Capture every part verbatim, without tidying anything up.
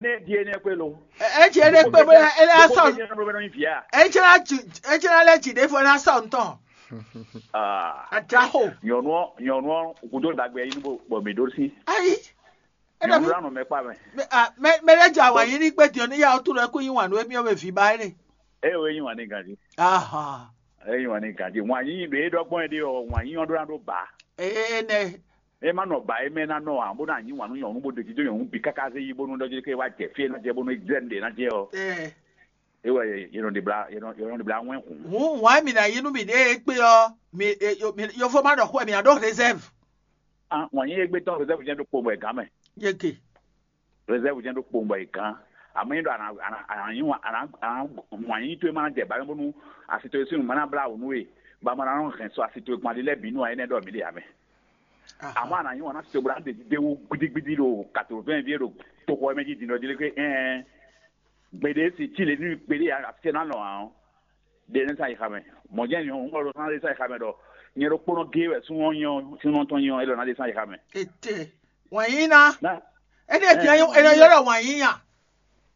Né ɖi énɛ́ kpé lo. Ɛ ɛ jɛ ɖe kpé bó ɛ ɛ asɔ Nyɔnu bɛ nɔ nyi via. Ɛ jɛ la ju ɛ jɛ la lɛ ji ɖe fɔ la sɔ ntɔn. Ah. Ajaxo. Nyɔnu ɔ nyɔnu ɔ kudo dagbe yi nubo bɔ mi ɖo si. Ayi. Ɛ Nyɔnu dɔ la nɔ mɛ kpa mɛ. mi a mɛ mɛ lɛ ja wa yi ni kpe diɔ ni ya o tu lɛ ku yi wan nu emi ɔ bɛ vi ba ɛ ne. Eye wo yi wan ne ganji. Aha. Eye yi wan ne ganji. Wan yi be dɔ gbɔn ɖe ɔ wan yi ɔ ɖo na ɖo ba. Ɛ ɛ nɛ. E ma nɔ ba e mɛ na nɔ a bó na nyi wan nu nyɔnu bó ɖe jíjó nyɔnu bi kaka zé yi bónú ɖɔ jí ke wa jɛ fie na jɛ bónú jɛ ɖe na jɛ ɔ. Ɛ Ewɔ ye nɔ ɖe bla ye nɔ ye nɔ ɖe bla wɛn hun. Hun wan mi na yi nu mi ɖe e kpe ɔ mi e- yo- mi- yofo ma ɖɔ xɔ mi a ɖo réserve. Ah, wan yi egbe tɔn réserve jɛ ɖo kpomɔ e gan mɛ. Yeke. Réserve jɛ ɖo kpomɔ e gan. Ame yi ɖɔ ana ana ana yi wan ana ana wan yi to e ma na jɛ ba mɛ bónú asi to e sinu ma na bla wò nu e ba ma na nɔ hɛn sɔ asi to e gbɔn ali lɛ bi nu a yi nɛ ɖɔ mi ɖe amɛ. Àmọ́ àná yín wọn ná ṣe bó ná ɖe ɖéwú gbídígbídí ɖo quatre-vingts vie ɖo toxo ɛmɛ jí din ɖɔ jí lé ké ɛn gbeɖé si tí lě nú gbeɖé ya afíṣẹ́ ná lɔn ǎ ɔ́ ɖe nɛ́ sa yi xamɛ. Mɔ̌ jẹ́ nyɔ̌nu ɔ́ ɖo ná ɖe sa yi xamɛ ɖɔ nyɛ ɖokpónɔ géé wɛ súnnu ɔ́ nyí ɔ́ súnnu ɔ́ tɔn nyí ɔ́ é ɖɔ ná ɖe sa yi xamɛ. Ete. Wanyina. Ná Ene tiɛ yo ene yɔrɔ wanyinya.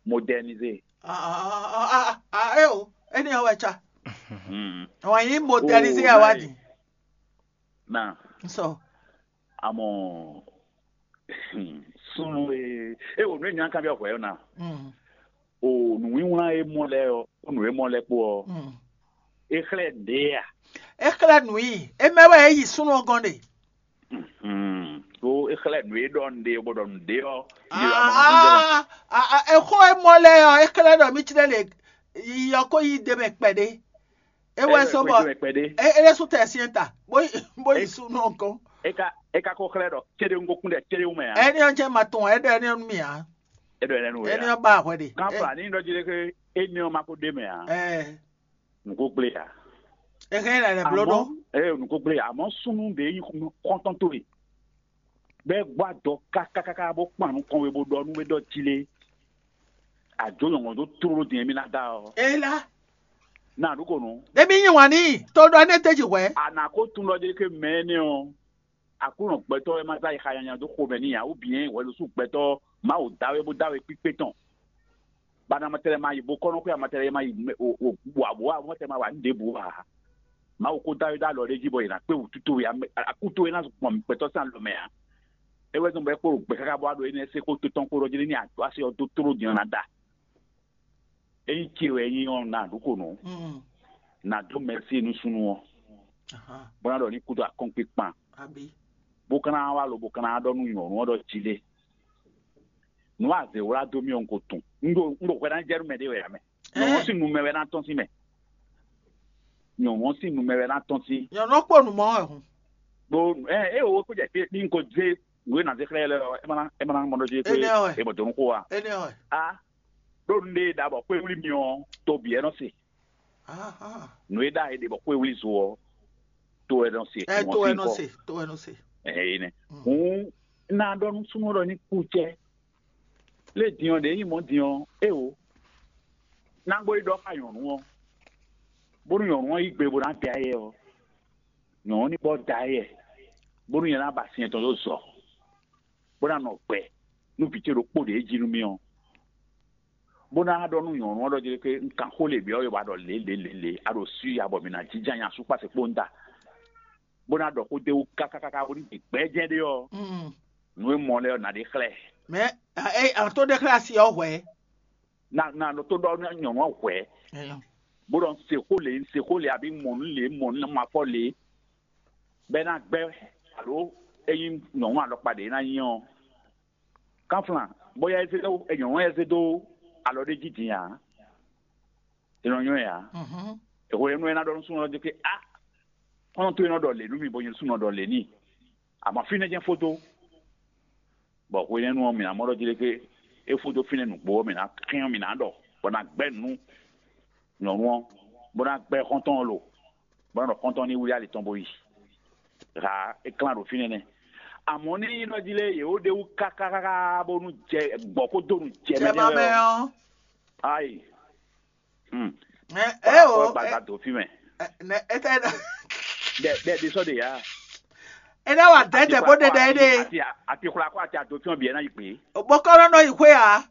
Moderniser. Ah ah ah ah eh o. Ene yɔ wɛ tsa. Mm. Wanyi moderniser ya wa di. Ná Nsɔ. Àmọ́ súnnu e e wò nú ènìyàn kan bí ọkọ̀ ẹ̀ náà Mm. o nùwíwlán e mɔ lɛ ɔ o nù e mɔ lɛ kpó ɔ Mm. e xlɛ́ ɖě a E xlɛ nu yi. E mɛ wɛ e yi súnnu gɔn de. Hmm. O e xlɛ́ nù e ɖɔ nɖe bó ɖɔ nɖe ɔ Ah ah ah ah. E xɔ e mɔ lɛ ɔ e xlɛ ɖɔ mi tsi ɖe le. Yi yɔ ko yi de mɛ kpɛ de. E wɛ so bɔ kpɛɖé e e ɖe su tɛ siɛn ta. Bo yi bo yi súnnu gɔn. e ka e ka ko xlɛ́ ɖɔ céɖé ŋgokún ɖɛ céɖé wú mɛ a Ene yɔ jɛ ma tɔn e ɖe ene yɔ mi a. e ɖɔ ɛnɛ nu wɛ Ene a yɔ ba hwɛ de. kan fla ní ɖɔ jí ɖe ke ene ɔ ma ko ɖe mɛ a Ɛ nùkó gblé a e hɛn na ne blo ɖo. Àmọ́ ee nùkó gblé a àmọ́ súnnu ɖe yí kɔntɔn tó e bɛɛ gbɔ adɔ kákákáká bó kpan nukɔn we bó ɖɔ nú we ɖɔ jí lé àjò nyɔ̀ngɔn tó tló ɖo din mi ná dá ọ E la. náà nukó nu Ɖe mi nyi wǎn n'i to ɖɔ énɛ́ tɛ́ ji hwɛ̌. àná kó tún ɖɔ jí ke mɛ énɛ́ ɔ àkúnɔ gbɛtɔ́ ɛ má zá yi xa nyanya dó xomɛ n'i ǎ wú bǐ nyɛ wɛ̌ losú gbɛtɔ́ Mawu dá we bó dá we kpíkpé tɔn bana matɛlɛ ma yi bo kɔnɔ xwe amatɛlɛ ma yi o o wa bo wa mɔtɛ ma wa nu ɖe bo wa Mawu ko dá we dá lɔ ɖe jí bɔ yina kpe wútu towe ame akú towe na gbɔn gbɛtɔ sín alɔ mɛ a ewé tó ń bɛ kpó gbɛ káká bɔ aɖo énɛ́ se kó tó tɔn kó ɖɔ jí ní àdó asi ɔdó tló din ɔ́ ná da eyi ce wɛ nyi ɔ́ na ɖu ko nɔ na dó mɛsí nu sunu ɔ́ bó ná ɖɔ ní kúdó akɔ́nkpé kpan Abi. bó ká ná wá lo bó ká ná ɖɔ nú nyɔ̌nu ɔ́ ɖɔ jí lé nǔ azě wlá dó mì ɔ́ un ko tunwun un ɖo un ɖo hwɛ ná jɛ nú mɛ ɖé wɛ ame nyɔ̌nu ɔ́ sín nu mɛ wɛ ná tɔ́n sín mɛ nyɔ̌nu ɔ́ sín nu mɛ wɛ ná tɔ́n sín Nyɔnu kponu mɔ wɛ hun. ɖó ɛ ɛ o kó jɛ pé ní ko dé nǔ e ná dé xlɛ́ lɛ ɛ má ná ɛ má ná mɔ ɖó dé pé Énɛ́ wɛ. È mɔ dó nú xó wa Énɛ́ wɛ. a ɖó nu ɖé ɖa bɔ kpé wlí mi ɔ́ to bǐ ɛ nɔ se Aha. nǔ e ɖa è ɖe bɔ kpé wlí zo ɔ́ to ɛ nɔ se Ɛ wọ́n to sì ɛ nɔ kɔ. Se to ɛ nɔ se. Ɛhɛn, yi nɛ. Hǔn ná ɖɔ nú súnnu ɖɔ ní kú cɛ. Lé din ɔ́ ɖě nyí mɔ̌ din ɔ́, é o. Ná gbó yi ɖɔ xá nyɔ̌nu ɔ́, bónú nyɔ̌nu ɔ́ yí gbe bó ná da yɛ ɔ́, nyɔ̌nu ní bɔ da yɛ, bónú nyɛ ná ba sin tɔn dó zɔ, bó ná nɔ gbɛ nú vǐ ce ɖokpó ɖě jí nú mì ɔ́. Bó ná ɖɔ nú nyɔ̌nu ɔ́ ɖɔ jí ɖé un kan xó lě byɔ́ we wá ɖɔ lě lě lě lě, a ɖo swi ya bɔ mǐ ná jínjɔ́n nya sú kpáse kpó ń da. Bó ná ɖɔ xó d'é wú kákákáká bó ní ɖe gbɛ́jɛ́ ɖé ɔ́, Mm. nǔ e mɔ lɛ́ɛ ɔ́ ná ɖe xlɛ́. Mais ɛ ɛ an to ɖe xlɛ́ asi ɔ́ hwɛ. Na na ɖo tó ɖɔ nyɔ̌nu ɔ́ hwɛ̌, Ɛyɔ. bó ɖɔ un se xó lě, un se xó lě, abí mɔ nǔ lě, mɔ nǔ ma fɔ lě, bɔ é ná gbɛ́ alo é nyí nyɔ̌nu alɔkpa ɖě é ná nyí ɔ́. Kánflán, bóyá é zé dó é nyɔ̌nu ɔ́ é zé dó alɔ ɖé jí din ǎ. É nɔ nyɔ́ ɛ ǎ. Mhm. Èxo yɛ nú é ná ɖɔ nú súnnu ɔ́ dó ké á xɔ́ntɔn tó é nɔ ɖɔ lě nú mi bɔ nyɛ súnnu ɔ́ ɖɔ lě n'i. Àmọ́ fínɛ́ jɛ́n fó dó. Bɔ hwenɛ́nu ɔ́, mǐ ná mɔ ɖɔ jí ɖé ké é fó dó fínɛ́ nǔgbó ɔ́, mǐ ná kɛn ɔ́, mǐ ná ɖɔ, bɔ ná gbɛ́ nǔ nyɔ̌nu ɔ́, bó ná gbɛ́ xɔ́ntɔn ɔ́ lo, bó ná ɖɔ xɔ́ntɔn ní wlí ali tɔn bó yi. Ha é klán ɖo fínɛ́ nɛ́. Àmọ́ ní nyí ɖɔ jí lé yě wó ɖe wú kákákáká bónú jɛ gbɔ̌ kó dó nǔ jɛ Jɛ mɛ ma mɛ jɛ́n lɔ. Ɔ́. Ayi. Hmm. Ɛ ɛ o. Gbagba dó fí mɛ. Ɛ nɛ ete Dɛ dɛ di sɔ de ya. Ene wa dɛdɛ bó ɖeɖe ɖe. Ati ati xwla kó ati ado fí ɔn biɛ na yi gbe. Bó kɔrɔ nɔ yi xwé a.